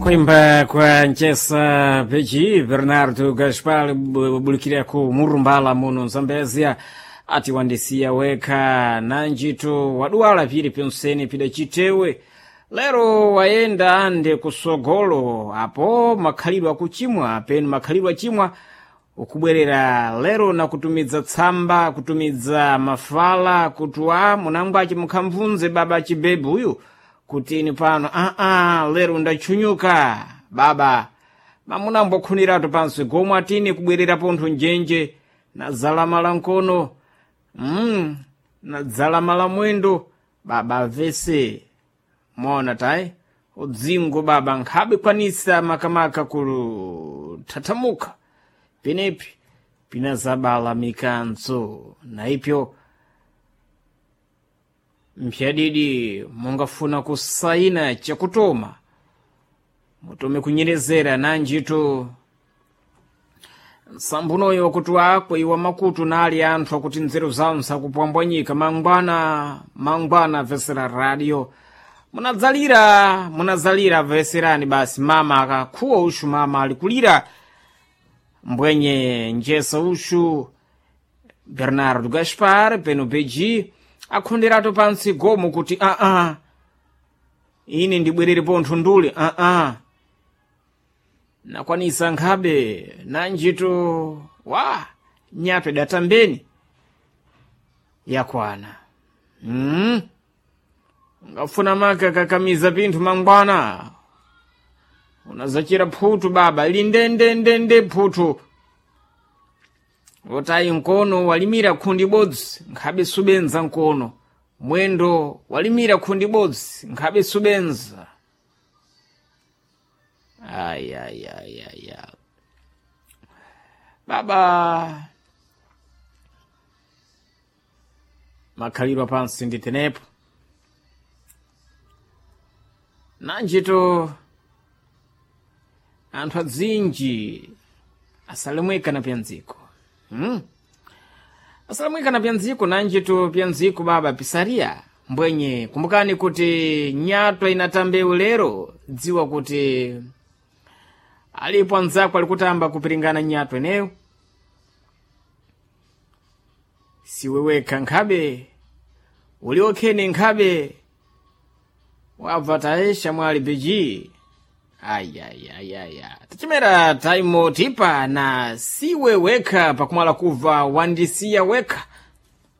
Kuimba kwa Nchesa Pechi Bernardo Gaspar bulikira ku Murumbala muno Zambezia ati wandisiya wekha nanjito waduwala pili penseni pida chitewe lero wayenda ande kusogolo apo makhalidwe akuchimwa penu makhalidwe achimwa ukubwerera lero na kutumidza tsamba kutumidza mafala kuti wa munangwachi mukhamvunze baba chibebu uyu kutini pano aa lero ndachunyuka baba mamunambokhuniratu pansi gomwe atini kubwerera pontho njenje nadzalamala nkono nadzalamala mwendo baba vese mona tayi udzingo baba nkhabe kwanisa makamaka kuthathamuka penepi pinazabala mikanzo na ipyo mpyadidi mungafuna kusaina chakutoma mutome kunyerezera nanjito nsambunoyo kuti akwe iwa makutu nali anthu akuti nzeru zawo nsakupwambwanyika mangwana mangwana vesera radio munadzalira munadzalira veserani basi mama akakhuwa ushu mama alikulira mbwenye njesa ushu Bernardo Gaspar peno beji akhonderatu pansi gomo kuti aa ine ndibwerere pontho ndule aa nakwanisa nkhabe nanjito wa nyatwe datambeni yakwana Ungafuna maka kakamiza pinthu mangwana unazachira phutu baba lindendendende phutu wotayi nkono walimira khundi bodzi nkhabe subenza nkono mwendo walimira khundi bodzi nkhabe subenza ayayayaya baba makhalidwe pansi ndi tenepo nanjito anthu adzinji asalemweka na pyandziko Asalemweka na pyandziko nanjito pyandziko baba pisaria mbwenye kumbukani kuti nyatwa inatambewu lero dziwa kuti alipo anzako alikutamba kupiringana nyatwa ineyo siwe wekha nkhabe uliokhene nkhabe wabva taesha mwali beji ayayayaya tichimera taimo tipa na siwe wekha pakumala kuva wandisiya wekha.